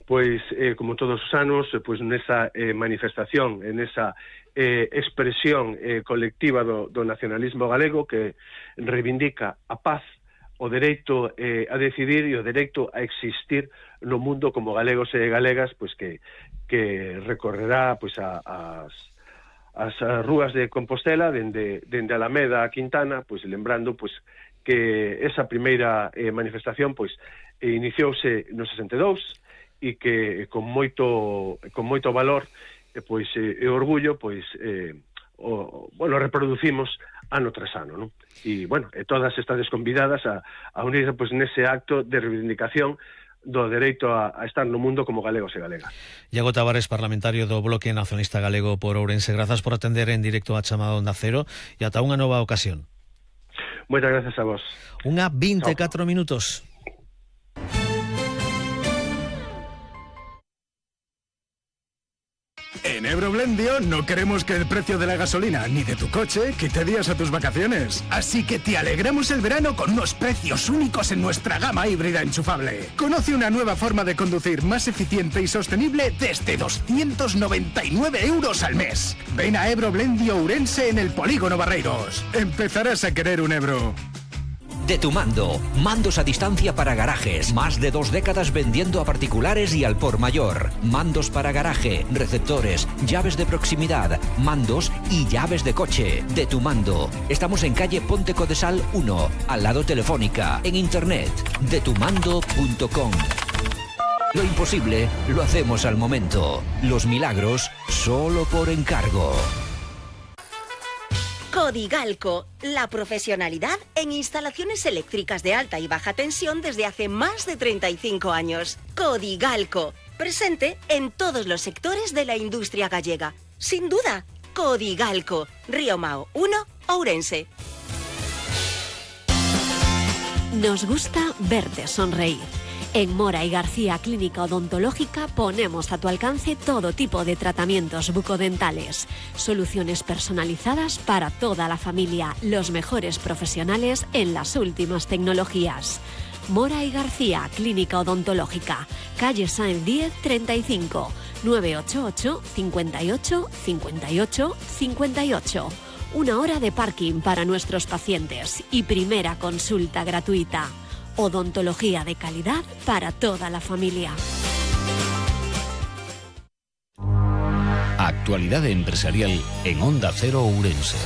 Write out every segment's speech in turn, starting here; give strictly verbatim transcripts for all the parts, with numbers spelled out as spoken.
pois, eh, como todos os anos, eh, pois nesa eh, manifestación, en esa eh, expresión eh, colectiva do, do nacionalismo galego que reivindica a paz, o dereito eh, a decidir e o dereito a existir no mundo como galegos e galegas, pois que, que recorrerá pois a, as, as rúas de Compostela, dende, dende Alameda a Quintana, pois lembrando pois que esa primeira eh, manifestación pois eh, iniciouse no sesenta e dous, e que con moito con moito valor e pois e, e orgullo pois eh, o, bueno, reproducimos ano tras ano, non? E bueno, e todas estades convidadas a, a unirse pois nese acto de reivindicación do dereito a, a estar no mundo como galegos e galegas. Iago Tavares, parlamentario do Bloque Nacionalista Galego por Ourense, grazas por atender en directo a chamada Onda Cero e ata unha nova ocasión. Moitas gracias a vos. Unha vinte e catro minutos. En Ebroblendio no queremos que el precio de la gasolina ni de tu coche quite días a tus vacaciones. Así que te alegramos el verano con unos precios únicos en nuestra gama híbrida enchufable. Conoce una nueva forma de conducir más eficiente y sostenible desde doscientos noventa y nueve euros al mes. Ven a Ebroblendio Ourense en el Polígono Barreiros. Empezarás a querer un Ebro. De tu mando, mandos a distancia para garajes, más de dos décadas vendiendo a particulares y al por mayor. Mandos para garaje, receptores, llaves de proximidad, mandos y llaves de coche. De tu mando. Estamos en calle Ponte Codesal uno, al lado Telefónica, en internet, de tu mando punto com. Lo imposible lo hacemos al momento. Los milagros solo por encargo. Codigalco, la profesionalidad en instalaciones eléctricas de alta y baja tensión desde hace más de treinta y cinco años. Codigalco, presente en todos los sectores de la industria gallega. Sin duda, Codigalco, Río Mao uno, Ourense. Nos gusta verte sonreír. En Mora y García Clínica Odontológica ponemos a tu alcance todo tipo de tratamientos bucodentales, soluciones personalizadas para toda la familia, los mejores profesionales en las últimas tecnologías. Mora y García Clínica Odontológica, calle Sáenz diez treinta y cinco, nueve ocho ocho, cincuenta y ocho, cincuenta y ocho, cincuenta y ocho. Una hora de parking para nuestros pacientes y primera consulta gratuita. Odontología de calidad para toda la familia. Actualidade empresarial en Onda Cero Ourense.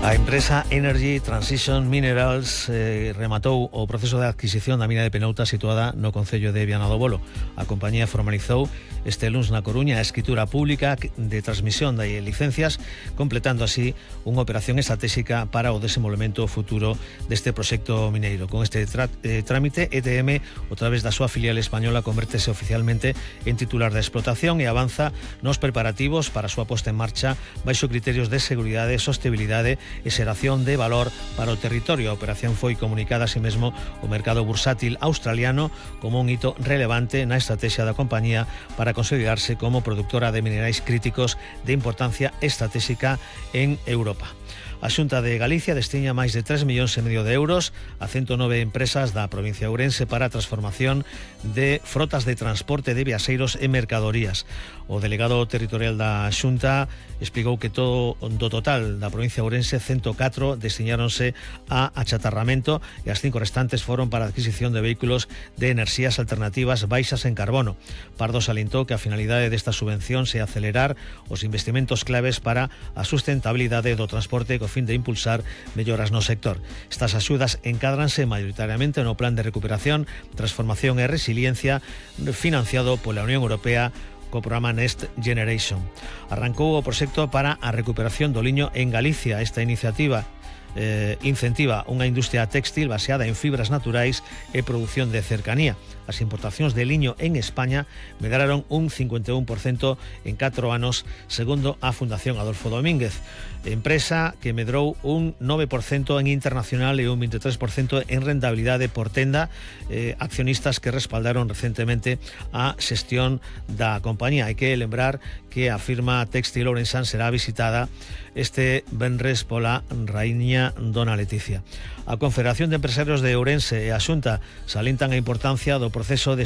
A empresa Energy Transition Minerals eh, rematou o proceso de adquisición da mina de Penouta situada no concello de Viana do Bolo. A compañía formalizou este luns na Coruña a escritura pública de transmisión de licencias, completando así unha operación estratégica para o desenvolvemento futuro deste proxecto mineiro. Con este eh, trámite, E T M, a través da súa filial española, convértese oficialmente en titular da explotación e avanza nos preparativos para a súa posta en marcha baixo criterios de seguridade, sostenibilidade e xeración de valor para o territorio. A operación foi comunicada así mesmo o mercado bursátil australiano como un hito relevante na estrategia da compañía para consolidarse como productora de minerais críticos de importancia estratégica en Europa. A Xunta de Galicia destiña máis de tres millóns e medio de euros a ciento nove empresas da provincia de Ourense para a transformación de frotas de transporte de viaxeiros e mercadorías. O delegado territorial da Xunta explicou que todo do total da provincia de Ourense, ciento catro destiñáronse a achatarramento e as cinco restantes foron para a adquisición de vehículos de enerxías alternativas baixas en carbono. Pardo salientou que a finalidade desta subvención se acelerar os investimentos claves para a sustentabilidade do transporte co fin de impulsar melloras no sector. Estas axudas encádranse maioritariamente no Plan de Recuperación, Transformación e Resiliencia financiado pola Unión Europea co programa Next Generation. Arrancou o proxecto para a recuperación do liño en Galicia. Esta iniciativa eh, incentiva unha industria téxtil baseada en fibras naturais e produción de cercanía. As importacións de liño en España medraron un cincuenta e un por cento en catro anos, segundo a Fundación Adolfo Domínguez. Empresa que medrou un nove por cento en internacional e un vinte e tres por cento en rentabilidade por tenda, eh, accionistas que respaldaron recentemente a xestión da compañía. Hai que lembrar que a firma téxtil ourensán será visitada este venres pola raíña Dona Leticia. A Confederación de Empresarios de Ourense e a Xunta salientan a importancia do proceso de